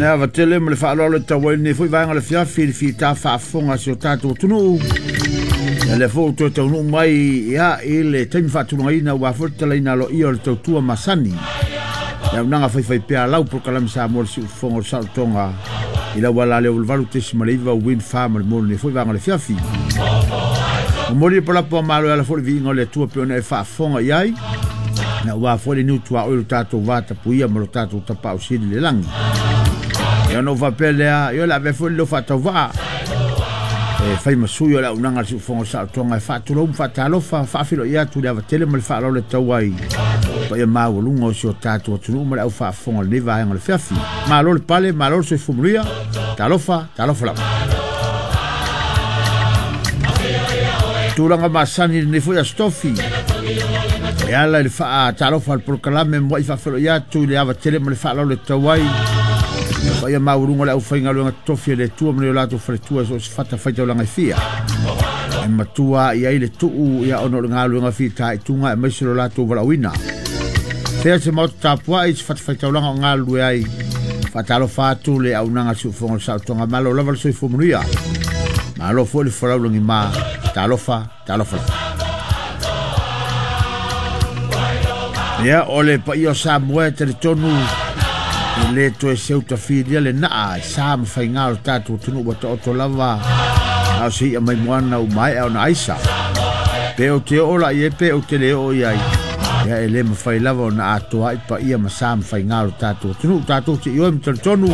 Le ava tele ma le faaaloalo e tau ai lenei foi vaega o le afiafi i le fita faafofoga a si o tatou atunuu. Ia lea foi ua toe taunuu mai ia, i le taimi faatulagaina aua foi le tatalaina aloaia o le tautua masani. Le auaunaga faifaipea a lau polokalame Samoa le siufofoga o le saolotoga i lau ala lea o 8.9 Wind Farm le mo lenei foi vaega o le afiafi. Momoli le palapu a malo e ala foi le viiga o le Atua pe ona e faafofoga i ai. Na ua foi le niu tuaoi lo tatou vatapuia ma lo tatou tapaau sili le lagi. Ia ona ou faapea lea, ia o le a avea foi le leo faatauvaa e fai ma sui o le auaunaga a le siufofoga o le saolotoga e faatulou ma faatalofa, faafeiloai atu le ava tele ma le faaaloalo e tau ai paia maualuga o si o tatou atunuu ma le au faafofoga o lenei vaega o le afiafi. Malo le pale, malo le soifua manuia, talofa, talofa lava. Tulaga masani lenei foi Aso Tofi e ala i le faatalofa a le polokalame muai faafeiloai atu i le ava tele ma le faaaloalo e tau ai paia maualuga o le aufaigaluega totofi a le Atua ma le o latou faletua i so o se fatafaitaulaga e fia. E matua i ai le tuu ia ona o le galuega fitaituga aemaise lo latou valaauina. Fea se maota tapuai se fatafaitaulaga o galulue ai. Faatalofa atu le auaunaga a le siufofoga o le saolotoga. Malo lava le soifua manuia. Malo foi le folau lagima. Talofa, talofa lava. Ia, o le paia o Samoa e talitonu e le toe seutafilia le naa e sa ma faiga o le tatou atunuu ua taoto lava a o se i'a mai moana ua maea ona aisa. Pe ou te oo la i ai pe ou te le oo i ai, ia e le mafai lava ona atoa ai paia ma sa ma faiga o le tatou atunuu. Tatou te ioe ma talitonu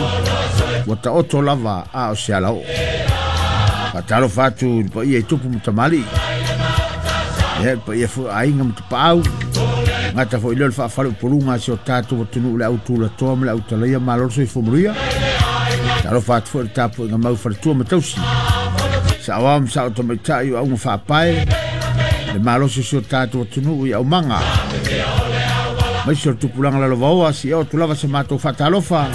ua taoto lava a o se alaoo. Faatalofa atu i le paia i tupu ma tamalii. Ia, le paia foi o aiga ma tapaau. Gata foi lea o le faafaleupoluga a si o tatou atunuu le au tulatoa ma le au talaia malo le soifua manuia. Talofa atu foi i le tapuaiga mau faletua ma tausi. Saoao ma sao tamaitai o auga faapae. Le malosi o si o tatou atunuu i aumaga. Maise o le tupulaga lalovaoa si o atu lava se matou faatalofa.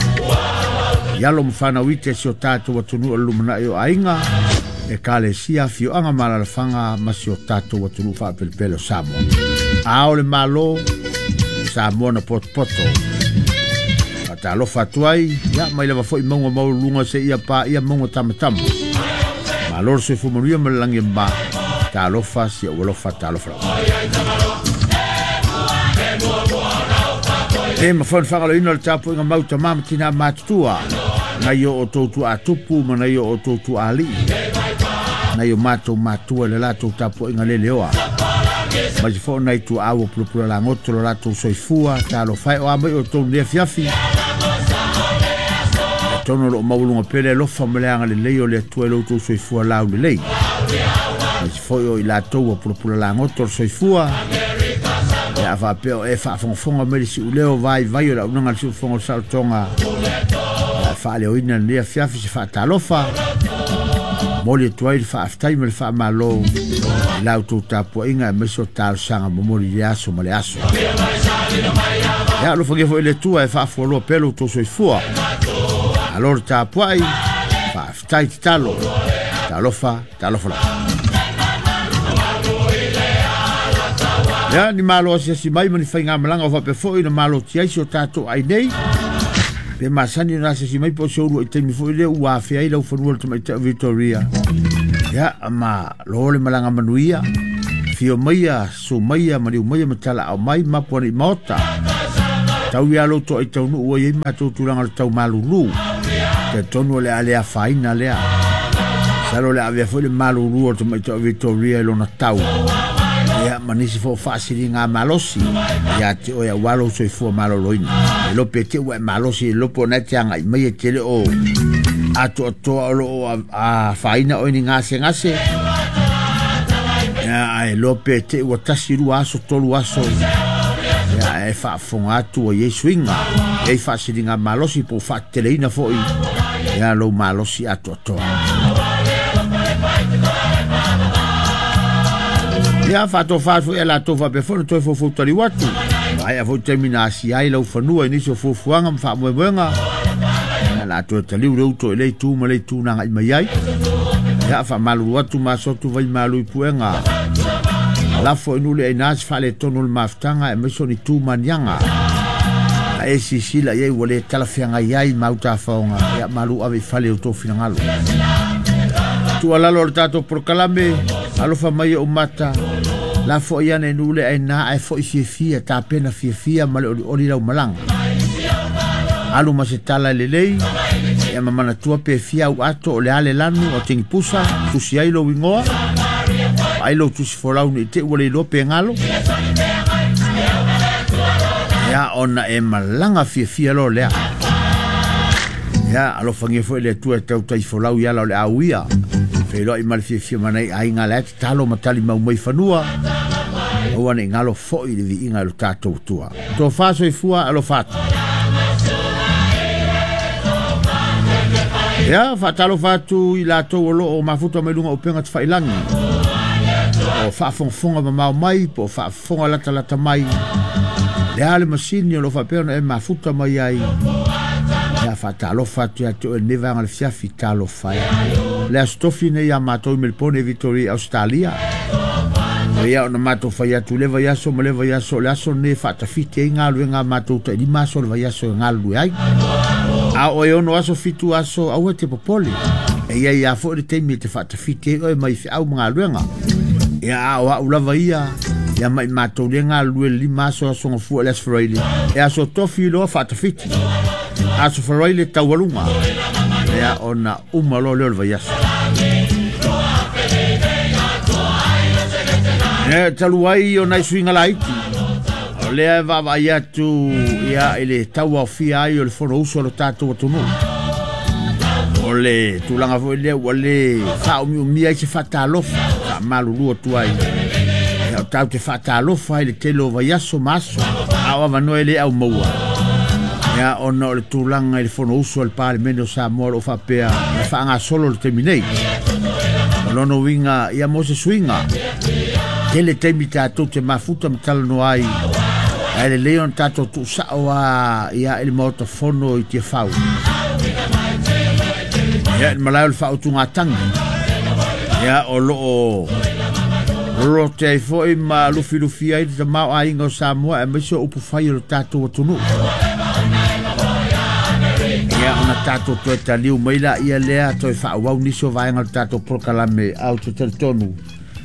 I alo ma fanau ite si o tatou atunuu o le lumanai o aiga, ekalesia, afioaga ma alaalafaga ma si o tatou atunuu faapelepele o Samoa. A o le Malo, Samoa na potopoto. Faatalofa atu ai, ia mai lava foi mauga maualuluga seia paia mauga tamatama. Malo le soifua manuia ma le lagi e mama. Talofa si ou alofa, talofa lava. E mafai ona faagaloina le tapuaiga mau tama ma tina matutua nai o outou tuaatupu ma nai o outou tuaalii nai o matou matua i le latou tapuaiga leleoa mai se foi nai tuaau o pulapula lagoto lo latou soifua talofa e o a mai outou nei afiafi tonu o loo maualuga pea le alofa ma le agalelei o le Atua i lo outou soifua laulelei mai se foi o i latou ua pulapula lagoto le soifua ia a faapea o e faafogafoga mai le siuleo vaivai o le auaunaga a le siufofoga o le saolotoga ia faaleoina lenei afiafi se faatalofa momoli atu ai le faafetai ma le faamalo i la outou tapuaiga aemaise o talosaga momoli i le aso ma le aso. Ia alofagia foi le Atua e faafualoa pea lo outou soifua. Malo le tapuai, faafetai tatalo. Talofa, talofa lava. Ia, ni malo asiasi mai ma ni faigamalaga o faapea foi na malotia ai si o tatou ai nei. Pe masani ona asiasi mai po o se ulu i taimi foi lea ua afea ai lau fanua le tamaitai o Victoria. Ia, ma lo le malaga manuia. Fio maia, su maia, maliu maia ma talaau mai, mapu ane i maota. Tau ia lou toa i taunuu ua i ai matou tulaga o le tau malulu. Talitonu o le a le afaina lea. Masalo o le a avea foi le malulu o le tamaitai o Victoria i lona tau. Ia, ma nisi foi o faasiliga malosi ia te oe aua lou soifua maloloina. E iloa pe te ua e malosi, e iloa po o na e te agai mai e te le o atoatoa o lo o afaina oe ni gasegase. Ia, ae iloa pe te ua 1, 2 aso, 3 aso. Ia, e faafofoga atu ua i ai suiga, e i ai faasiliga malosi po o faateteleina foi ia lou malosi atoatoa. Ia, faatofa foi e latou faapea foi na toe foufou taliu atu. Maea foi taimi na asia ai lau fanua i nisi o fuafuaga ma faamoemoega. Ia, la toe taliu le uto i le itu ma le itu na agai mai ai. Ia, faamalulu atu ma aso atu vai malu i puega. Lafo i nuu le aina se faaletonu o le mafutaga aemaise o ni tu ma ni aga. A e silasila i ai ua le talafeagai ai ma autafaoga, ia malu ave i fale i o outou finagalo. Tuualalo o le tatou polokalame, alofa mai ou mata, lafoai ane i nuu le aina ae foi fiafia, tapena fiafia ma le olioli lau malaga. Alu ma se tala lelei, ia ma manatua pe fia au ato o le a le lanu o tingipusa, tusi ai lou igoa, ai lou tusi folau ni te ua le iloa pe galo. Ia ona e malaga fiafia loa lea. Ia alofagia foi le Atua e tautai folau i ala o le auia. Feiloai ma le fiafia ma nai aiga la e tatalo ma tali mau mai fanua. Aua ne i galo foi le viiga i lo tatou Atua. Tofa soifua alofa atu. Ia, faatalofa atu i latou o lo o mafuta mai luga o upega tafailagi. O faafogafoga mamao mai po o faafofoga latalata mai. Le a le masini o lo o faapea ona e mafuta mai ai. Ia, faatalofa atu ia te oe lenei vaega o le fiafi, talofa e. Le Aso Tofi nei ia matou i Melbourne, Victoria, Australia. Ia ona matou fai atu le vaiaso ma le vaiaso, o le aso lenei e faatafiti ai galuega a matou tai 5 aso o le vaiaso e galulue ai. A o e 6 aso, 7 aso, aua e te popole. E i ai lava foi le taimi e te faatafiti ai oe mai feau ma galuega. Ia a o au lava ia, ia mai matou le galulue le 5 aso, aso gafua le Aso Faraile. E aso Tofi loa faatafiti. Aso Faraile taualuga. Ia ona uma loa lea o le vaiaso. E talu ai o nai suiga laiti, o lea e vaavaai atu ia i le tauaofia ai o le Fonousu a lo tatou atunuu. O le tulaga foi lea ua le faaumiumia ai se faatalofa, faamalulu atu ai. Ia o tatou te faatalofa ai le tele o vaiaso ma aso, a o avanoa e le au maua. Ia ona o le tulaga i le Fonousu a le Palemene o Samoa o lo o faapea na faagasolo le taimi nei. O lona uiga ia mo se suiga, tele taimi tatou te mafuta ma talanoa ai, ae lelei ona tatou tuusao a ia i le Maota Fono i Tiafau. Ia i le malae o le faautugatagi, ia o lo o lolote ai foi ma lufilufi ai le tamaoaiga o Samoa aemaise o upufai o le tatou atunuu. Ia ona tatou toe taliu mai laia lea toe faaauau nisi o vaega o le tatou polokalame au te talitonu.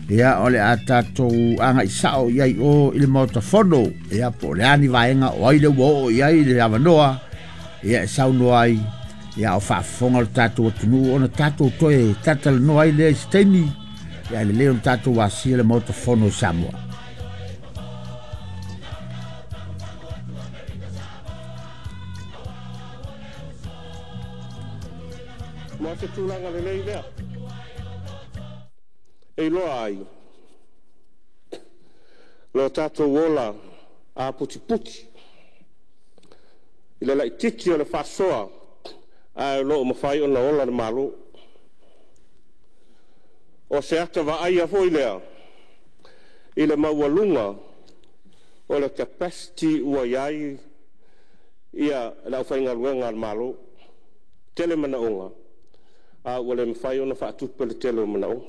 Ia o le a tatou agai sao i ai o i le Maota Fono. Ia po o le a ni vaega o ai le ua oo i ai le avanoa. Ia e saunoa ai. Ia o faafofoga le tatou atunuu ona tatou toe talatalanoa ai lea i se taimi. Ia lelei ona tatou asia le Maota Fono o Samoa. Ma se tulaga lelei lea e iloa ai lo tatou ola aputiputi i le laitiiti o le faasoa, ae o lo o mafai ona ola le Malo. O se ata vaaia foi lea i le maualuga o le capacity ua i ai ia le aufaigaluega a le Malo. Tele manaoga, a ua le mafai ona faatupe le tele o manaoga,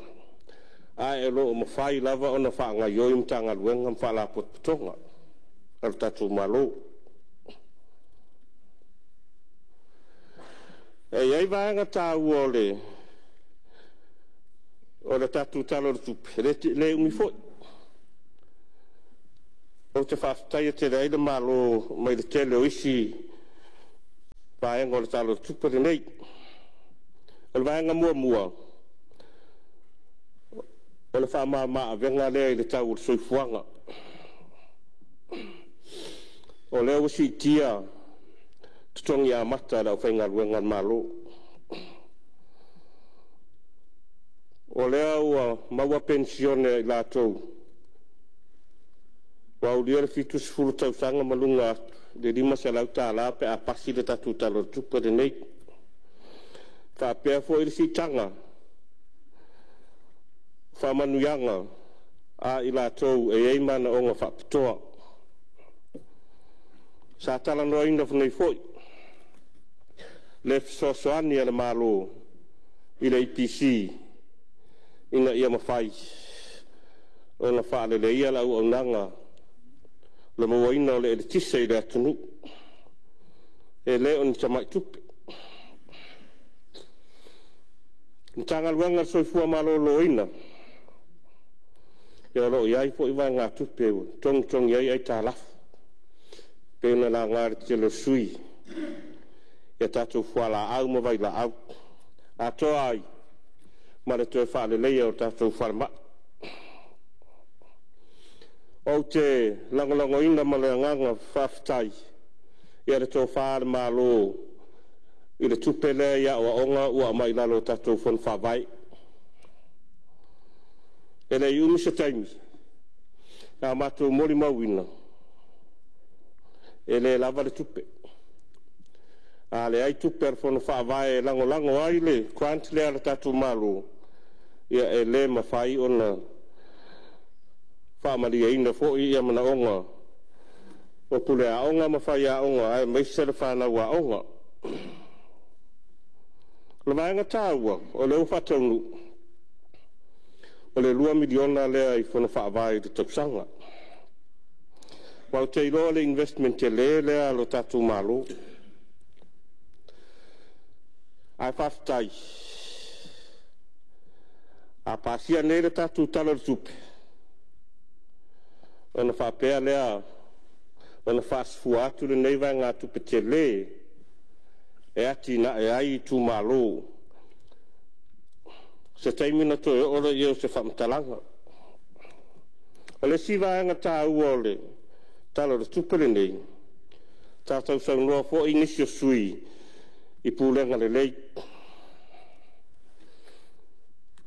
ae o lo o mafai lava ona faagaioi Matagaluega ma Faalapotopotoga a le tatou Malo. E i ai vaega taua o le tatou Tala o le Tupe, e le umi foi. Ou te faafetaia tele ai le Malo mai le tele o isi vaega o le Tala o le Tupe lenei. O le vaega muamua, o le faamama-avega lea i le tau o le soifuaga. O lea ua siitia totogi amata a le aufaigaluega a le Malo. O lea ua maua penisione a i latou ua aulia le 70 tausaga ma luga atu i le $500 pe a pasi le tatou Tala o le Tupe lenei. Faapea foi le siitaga faamanuiaga a i latou e i ai manaoga faapitoa. Sa talanoaina nei foi le fesoasoani a le Malo i le EPC ina ia mafai ona faaleleia le auaunaga le mauaina o le eletise i le atunuu. E le o ni tamai tupe. Matagaluega o le Soifua Maloloina, ia o lo o i ai foi vaegatupe ua togitogi ai aitalafu, pei ona laga e le tele o sui usufono i tatou fualaau ma vailaau, atoa ai ma le toe faaleleia o tatou falemai. Ou te lagolagoina ma le agaga faafetai le tofa a le Malo i le tupe lea i aoaoga ua aumai i lalo o tatou Fono Faavae. E le i umi se taimi, sa matou molimauina, e le lava le tupe. A leai tupe a le Fono Faavae e lagolago ai le grant lea a le tatou Malo, ia e le mafai ona faamalieina foi manaoga o pule aoga ma faiaoga aemaise le fanau aoga. O le vaega taua o lea ua faataunuu, o le $2 miliona lea i Fono Faavae i le tausaga. Ma ou te iloa o le investment tele lea a lo tatou Malo. Ae faafetai, a pasia nei le tatou Tala o le Tupe, ona faapea lea ona faasafua atu lenei vaegatupe tele e atinae ai itumalo. O se taimi ona toe oo lea o se faamatalaga. O le isi vaega taua o le Tala o le Tupe lenei, sa sausaunoa foi nisi o sui usufono i pulega lelei.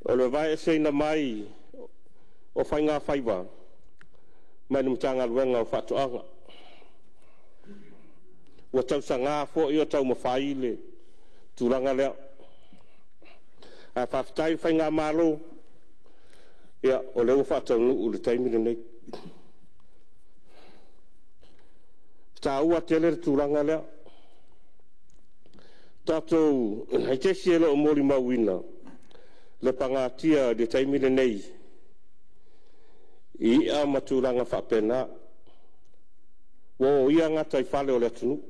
O le aveeseina mai o Faigafaiva mai le Matagaluega o Faatoaga. Ua tausaga foi o taumafai le tulaga lea, ae faafetai i le faigamalo, o lea ua faataunuu i le taimi lenei. E taua tele le tulaga lea. Tatou te e le o molimauina le pagatia i le taimi lenei i i'a ma tulaga faapena, ua oia gataifale o le atunuu,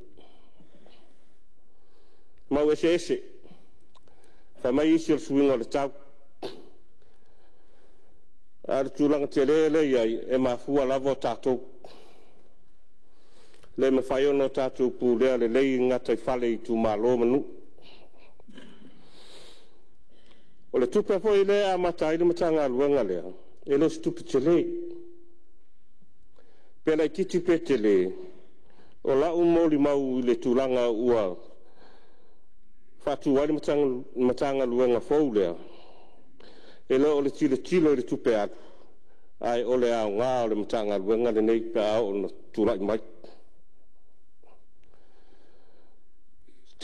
mau eseese. Fai mai isi o le suiga o le tau, a o le tulaga tele lea e i ai, e mafua lava o tatou. E le mafai ona tatou pulea lelei gataifale i itumalo ma nuu. O le tupe foi lea e amata ai le Matagaluega lea, e le o se tupe tele. Pe laitiiti pe tele, o lau molimau i le tulaga ua faatu ai le Matagaluega fou lea, e le o le tilotilo i le tupe alu, ae o le aoga o le Matagaluega lenei pe a oo ina tulai mai. E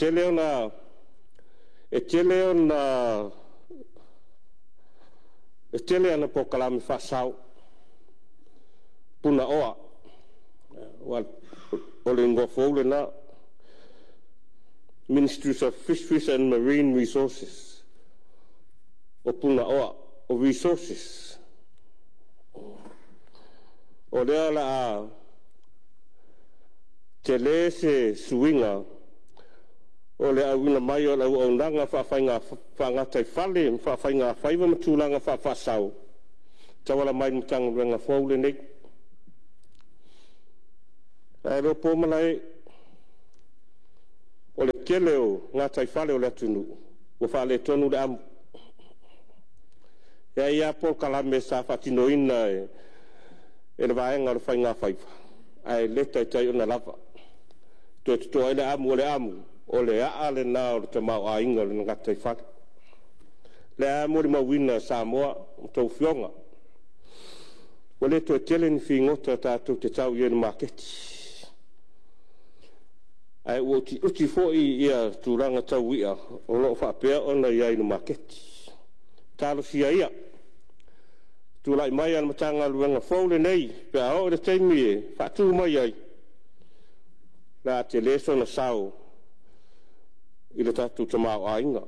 tele ana polokalame faasao, Punaoa, o le igoa fou lena, Ministry of Fisheries and Marine Resources, o Punaoa, o resources. O lea o le a tele se suiga o le auina mai o le auaunaga faagataifale ma faafaigafaiva ma tulaga faafaasao, e tauala mai i le Matagaluega fou lenei. Ae le o po malae, o le tele o gataifale o le atunuu ua faaletonu le amu. E i ai lava polokalame sa faatinoina e le vaega o le Faigafaiva, ae le taitai ona lava. Toe toto ai le amu, o le amu, o le aa lena o le tamaoaiga o le gataifale. O lea lava e molimauina e Samoa a outou afioga, ua le toe tele ni figota tatou te tau i ai i le maketi, ae ua utiuti foi tulaga tau i'a o lo o faapea ona i ai i le maketi. Talosia ia, tulai mai a le Matagaluega fou lenei pe a oo i le taimi e faatu mai ai, o le a tele sona sao i le tatou tamaoaiga.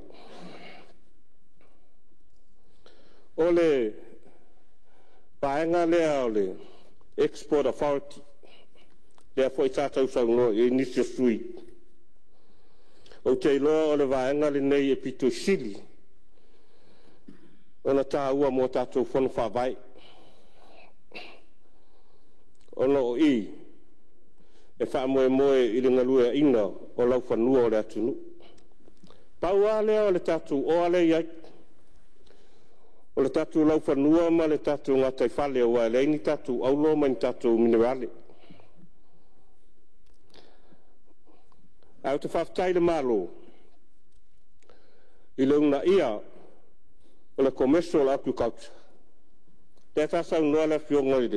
O le vaega lea o le Export Authority, lea foi sa sausaunoa i ai nisi o sui Ou te iloa o le vaega lenei e pito i sili ona taua mo tatou Fono Faavae, ona o i e faamoemoe i le galueaiina o laufanua o le atunuu. Pau lava lea o le tatou oa lea e i ai, o le tatou laufanua ma le tatou gataifale, aua e leai ni tatou auro ma ni tatou minerale. Ae ou te faafetai i le Malo i le uunaia o le Commercial Agriculture, lea sa saunoa le Afioga i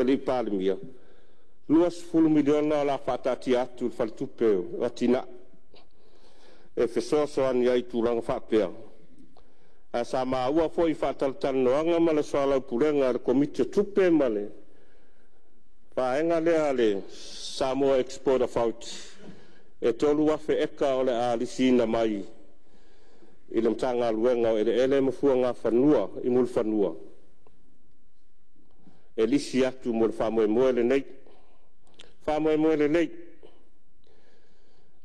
le Palemia, $20 miliona o le a faataatia atu i le Faletupe o Atinae e fesoasoani ai i tulaga faapea. Ae sa maua foi i faatalatalanoaga ma le soalaupulega a le Komiti o Tupe ma le vaega lea a le Samoa Export Authority, e 3,000 eka o le a lisiina mai i le Matagaluega o Eleele ma Fuagafanua i Mulifanua e lisi atu mo le faamoemoe lenei. Faamoemoe lelei,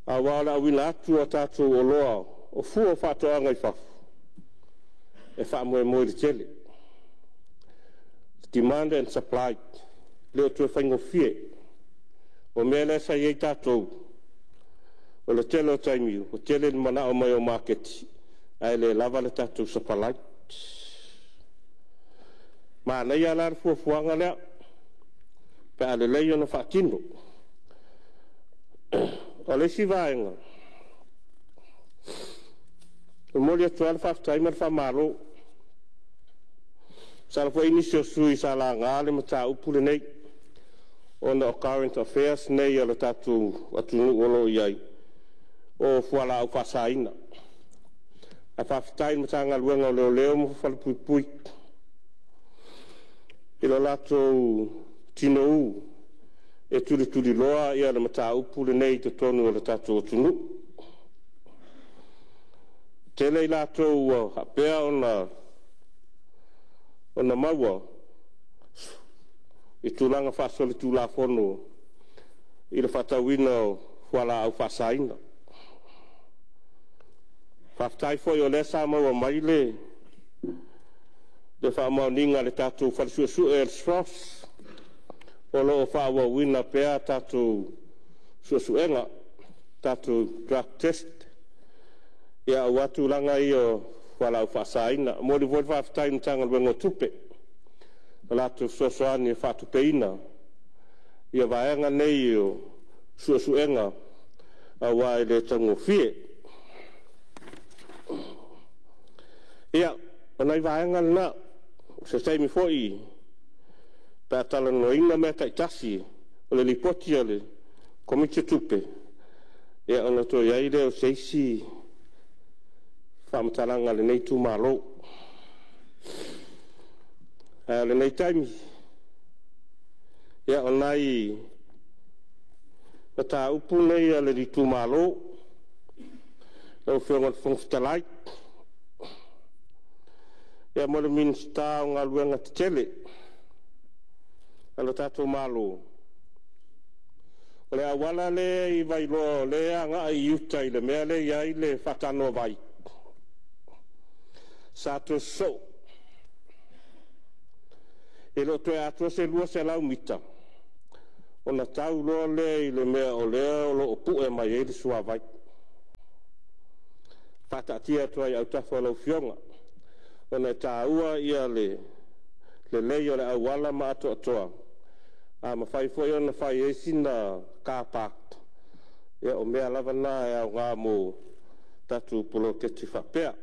aua o le auina atu o tatou oloa o fua o faatoaga i fafo, e faamoemoe i le tele, demand and supply, e le o toe faigofie. O le mea lea sa i ai tatou, o le tele o taimi ua tele le manao mai o maketi ae le lava le tatou supply. Manaia la le fuafuaga lea pe a lelei ona faatino. O le isi vaega, e momoli atu lava le faafetai ma le faamalo. Masalo foi e i ai nisi o sui usufono sa laga le mataupu lenei ona o current affairs nei a le tatou atunuu o lo o i ai, o fualaau faasaina. Ae faafetai i le Matagaluega o Leoleo ma Falepuipui i lo latou tinou e tulituliloa le mataupu lenei i totonu o le tatou atunuu. E tele i latou ua faapea ona maua i tulaga faasolitulafono i le faatauina o fualaau faasaina. Faafetai foi o lea sa maua mai le faamaoniga a le tatou Fale Suesue o le SROS, o lo o faaauauina pea tatou suesuega, tatou drug test aua tulaga ia o fualaau faasaina. E momoli foi le faafetai i le Matagaluega o Tupe i le latou fesoasoani e faatupeina vaega nei o suesuega aua e le taugofie. Ia, o nai vaega na. O se taimi foi pe a talanoaina mea taitasi o le Lipoti a le Komiti o Tupe, ia ona toe i ai lea o se isi faamatalaga a lenei itumalo. A o lenei taimi, ia o nai mataupu nei a le itumalo lau Afioga i le Fofoga Fetalai. Ia, mo le Minisita o Galuega Tetele a le tatou Malo, o le auala lea i Vailoa o lea e agai i uta i le mea lea e i ai le faatanoavai, sa toe sosoo. E le o toe atoa se 200 mita ona tau loa lea i le mea o lea o lo o pue mai ai le suavai. Faataatia atu ai i autafa o lau Afioga, ona e taua le lelei o le auala ma atoatoa. A mafai foi ona fai ai sina car park, ia o mea lava na e aoga mo tatou poloketi faapea.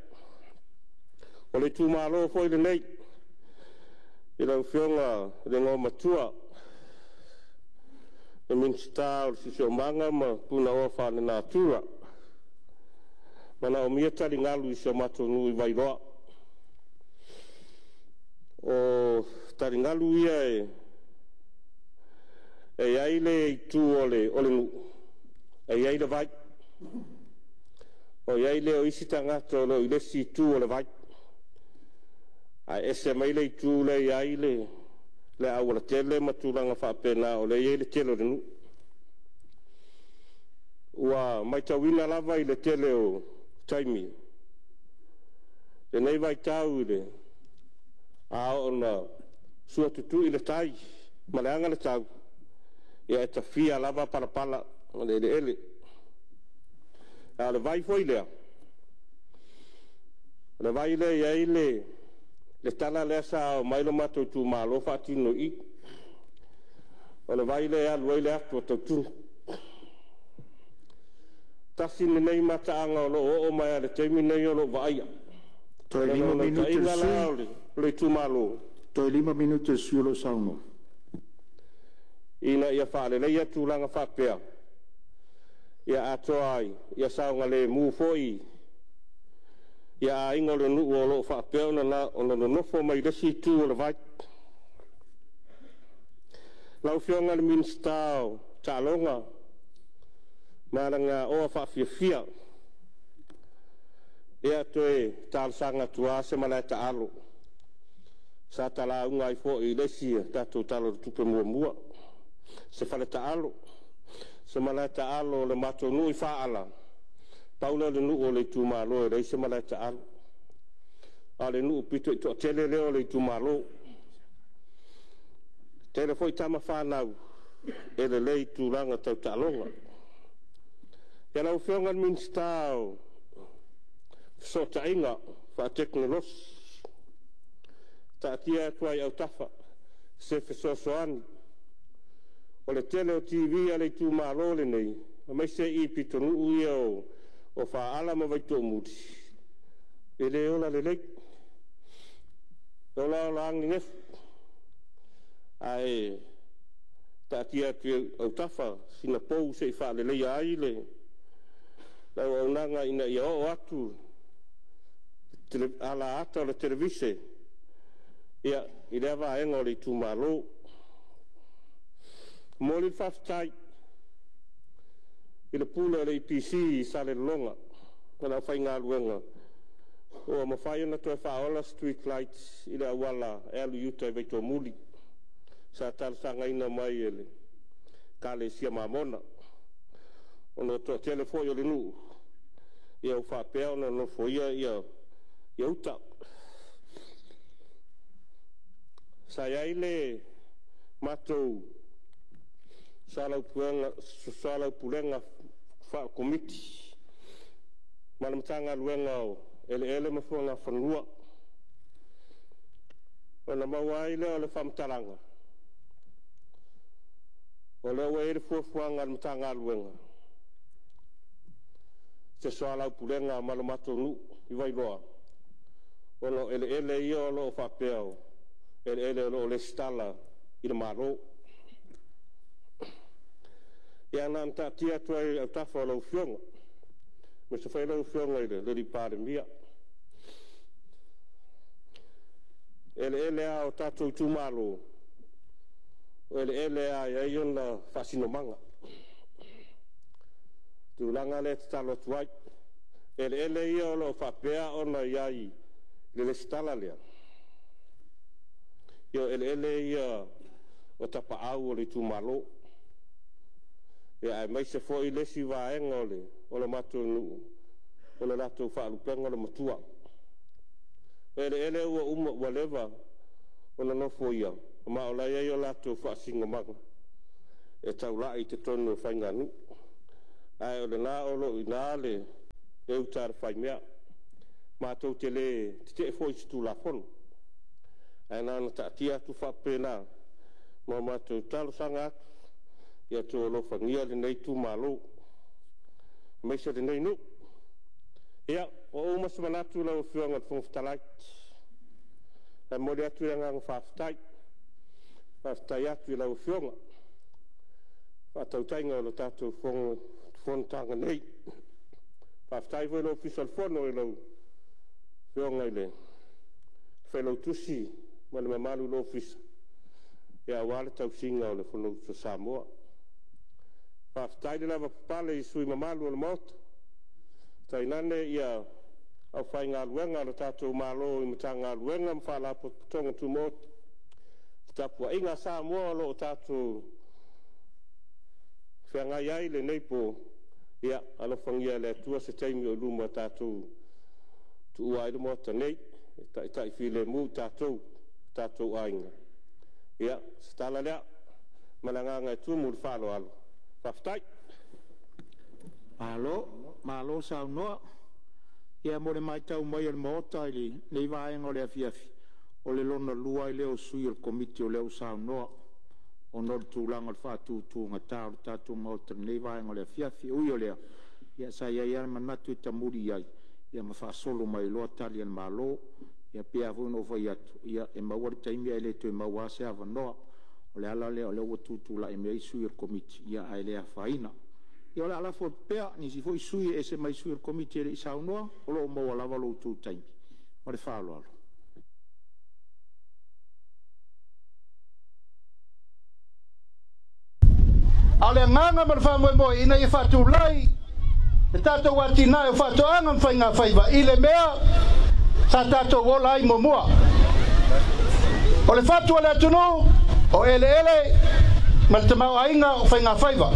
O le itumalo foi lenei i lau Afioga i le Igoamatua le Minisita o le Siosiomaga ma Punaoa Faalenatura, e manaomia taligalu i si o matou nuu i Vailoa. O taligalu ia e i ai le itu o le nuu e i ai le vai, ona i ai lea o isi tagata o lo o i le isi itu o le vai, ae ese mai le itu lea e i ai le aualatele ma tulaga faapena o lea e i ai le tele o le nuu. Ua matauina lava i le tele o taimi lenei vaitau i le a oo ina suatutui le tai ma leaga le tau, ia e tafia lava palapala o le eleele. A o le vai foi lea, o le vai lea e i ai le tala lea sa omai lo matou itumalo faatino i i, o le vai lea e alu ai le atu a tautua. Tasi lenei mataaga o lo o oo mai lava i le taimi lenei o lo o vaaia. O Toe le 5 minute o le naunautaiga sui la o le itumalo, Toe 5 minute o le sui o lo o saunoa. Ina ia faaleleia tulaga faapea, ia atoa ai, ia saogalemu foi ia aiga o le nuu o lo o faapea ona nonofo mai le isi itu o le vai. Lau Afioga i le Minisita o Taaloga ma Alagaoa Faafiafia, ia toe talosaga atu lava se malae taalo sa ta lauga ai foi i le isi tatou Tala o le Tupe muamua, se fale taalo, se malae taalo o le matou nuu i Faala, pau lea o le nuu o le itumalo e leai se malae taalo, a o le nuu pito i toatele lea o le itumalo. E tele foi tama fanau e lelei i tulaga tau taaloga. Ia lau Afioga i le Minisita o Fesootaiga Faatekonolosi, taatia atu lava i autafa se fesoasoani. O le tele o TV a le itumalo lenei, aemaise i pitonuu ia o Faala ma Vaitoomuli, e le ola lelei, e olaola lava nenefu. Ae taatia atu i ou autafa sina pou se i faaleleia ai le auaunaga ina ia oo atu alaata o le televise i lea vaega o le itumalo. E momoli le faafetai i le Pule o le EPC i Salelologa ma le aufaigaluega ua mafai ona toe faaola street lights i le auala e alu i uta i Vaitoomuli, sa talosagaina mai e le Ekalesia Mamona, ona o le toatele foi o le nuu ua faapea ona nofoia uta. Sa i ai le matou soalaupulega faa-Komiti ma le Matagaluega o Eleele ma Fuagafanua, ona maua ai lea o le faamatalaga, o lea ua i ai le fuafuaga a le Matagaluega, se soalaupulega ma le matou nuu i Vailoa, ona o eleele ia o lo o faapea o eleele o lo o resitala i le Malo. Ia na ona taatia atu lava i autafa o lau Afioga, aemaise foi lau Afioga i le Palemia. O eleele lava o tatou itumalo, o eleele lava e i ai ona faasinomaga. O le tulaga lea e tatalo atu ai. O eleele ia o lo o faapea ona i ai i le resitala lea, ia o eleele ia o tapaau o le itumalo, aemaise foi le isi vaega o le matou nuu, o le latou faalupega o le Matua. O eleele ua uma ua leva ona nofoia, ma o la e i ai o latou faasinomaga e taulai i totonu o faiganuu. Ae o lena o lo o i ina le uta a le faimea. Matou te le tetee foi i se Tulafono, ae na ona taatia atu faapena ma matou talosaga atu, ia outou alofagia lenei itumalo aemaise lenei nuu. Ia, ua uma se manatu lau Afioga i le Fofoga Fetalai, ae momoli atu le agaga faafetai. Faafetai atu i lau Afioga i le faatautaiga o le tatou fonotaga nei. Faafetai foi i le Ofisa o le Fono i lau Afioga i le Failautusi ma le mamalu i le Ofisa aua le tausiga o le Fonousu a Samoa. Faafetai le lavapapale i sui usufono mamalu o le Maota, tainane le aufaigaluega a le tatou Malo i Matagaluega ma Faalapotopotoga Tumaoti. Le tapuaiga a Samoa o lo o tatou feagai ai i lenei po, Ia, alofagia e le Atua se taimi o i luma tatou tuua ai le Maota nei, e taitai filemu i tatou, o tatou aiga. Ia, o se tala lea ma le agaga e tumu i le faaaloalo. Faafetai. Malo, malo saunoa. Ia mo le matau mai a le Maota i lenei vaega o le afiafi, o le lona lua ai lea o sui o le Komiti o lea ua saunoa ona o le tulaga o le faatutugata o le tatou Maota i lenei vaega o le afiafi. E ui o lea, ia sa i ai lava le manatu e tamuli i ai ma faasolo mai ai loa Tali a le Malo. Ia pei lava foi ona ou fai atu, ia e maua le taimi ae le toe maua lava se avanoa. O le ala lea o lea ua tutulai mai ai sui o le Komiti, ae le afaina. Ia o le a lafo atu pea i nisi foi sui e ese mai sui o le Komiti e le i saunoa, o lo o maua lava lo outou taimi. Ma le faaaloalo. A o le agaga ma le faamoemoe ina ia faatulai le tatou atinae o faatoaga ma faigafaiva i le mea sa tatou ola ai muamua. O le fatu o le atunuu, o eleele ma le tamaoaiga o faigafaiva.